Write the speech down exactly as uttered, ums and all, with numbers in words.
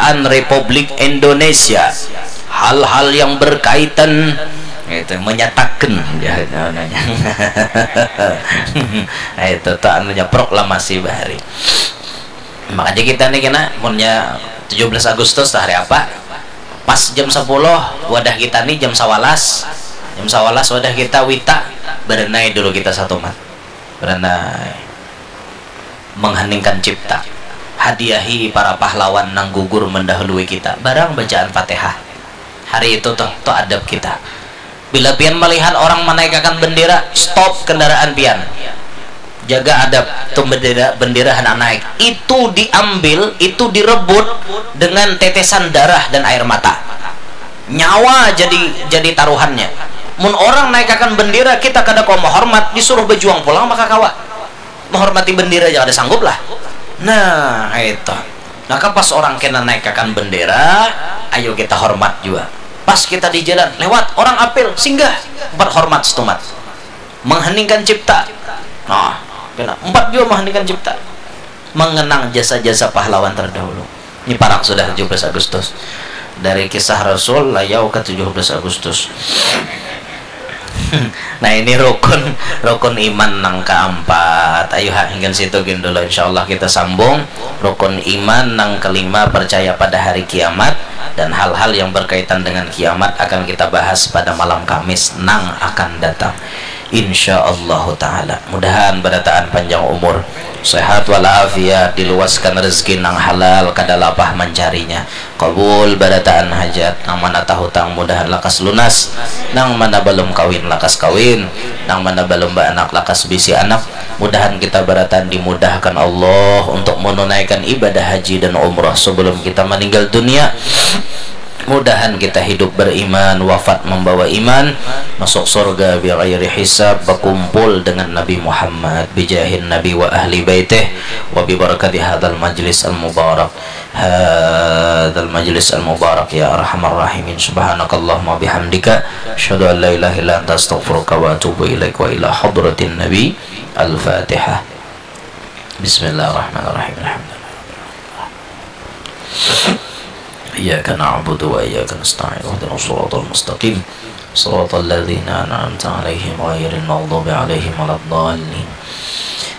Kemerdekaan Republik Indonesia, hal-hal yang berkaitan itu menyatakan ya namanya itu tuh anunya proklamasi bahari. Makanya kita nih kena punya tujuh belas Agustus tuh hari apa? Pas jam sepuluh wadah kita nih jam sawalas, jam sawalas wadah kita wita berenai dulu kita satu mat berenai mengheningkan cipta, hadiahi para pahlawan nang gugur mendahului kita barang bacaan fatihah. Hari itu tuh tuh adab kita. Bila pian melihat orang menaikakan bendera, stop kendaraan pian. Jaga adab tuh bendera bendera hendak naik. Itu diambil, itu direbut dengan tetesan darah dan air mata. Nyawa jadi jadi taruhannya. Mun orang naikakan bendera kita kada kawa menghormat, disuruh berjuang pulang maka kawa. Menghormati bendera aja kada sanggup lah. Nah itu. Maka pas orang kena naikakan bendera, ayo kita hormat juga. Pas kita di jalan lewat orang apil singgah, empat hormat setumat, mengheningkan cipta. Nah, kena empat juga mengheningkan cipta, mengenang jasa-jasa pahlawan terdahulu. Ini parak sudah tujuh belas Agustus. Dari kisah Rasul layau ke tujuh belas Agustus. Nah ini rukun rukun iman nang keempat. Ayo ha hinggan situ gin dulu, insyaallah kita sambung. Rukun iman nang kelima percaya pada hari kiamat dan hal-hal yang berkaitan dengan kiamat akan kita bahas pada malam Kamis nang akan datang. Insya Allahu Ta'ala. Mudahan barataan panjang umur, sehat walafiat, diluaskan rezeki nang halal, kada lapah mancarinya. Kabul barataan hajat, nang mana tahutang mudahan lakas lunas, nang mana balum kawin lakas kawin, nang mana balum baanak lakas bisi anak. Mudahan kita barataan dimudahkan Allah untuk menunaikan ibadah haji dan umrah sebelum kita meninggal dunia. Mudahan kita hidup beriman, wafat membawa iman, masuk surga bighairi hisab, bakumpul dengan Nabi Muhammad bijahin Nabi wa ahli baitih wa bibarakati hadzal majlis al mubarak. Hadzal majlis al mubarak ya arhamar rahimin. Subhanakallahumma bihamdika, asyhadu an la ilaha illa anta, astaghfiruka wa atubu ilaik. Wa ila hadratin Nabi. Al-Fatihah. Bismillahirrahmanirrahim. Alhamdulillah. Iyyaka na'budu wa iyyaka nasta'in. Ihdinas siratal mustaqim. Siratal ladzina an'amta 'alaihim ghairil maghdubi 'alaihim waladdallin.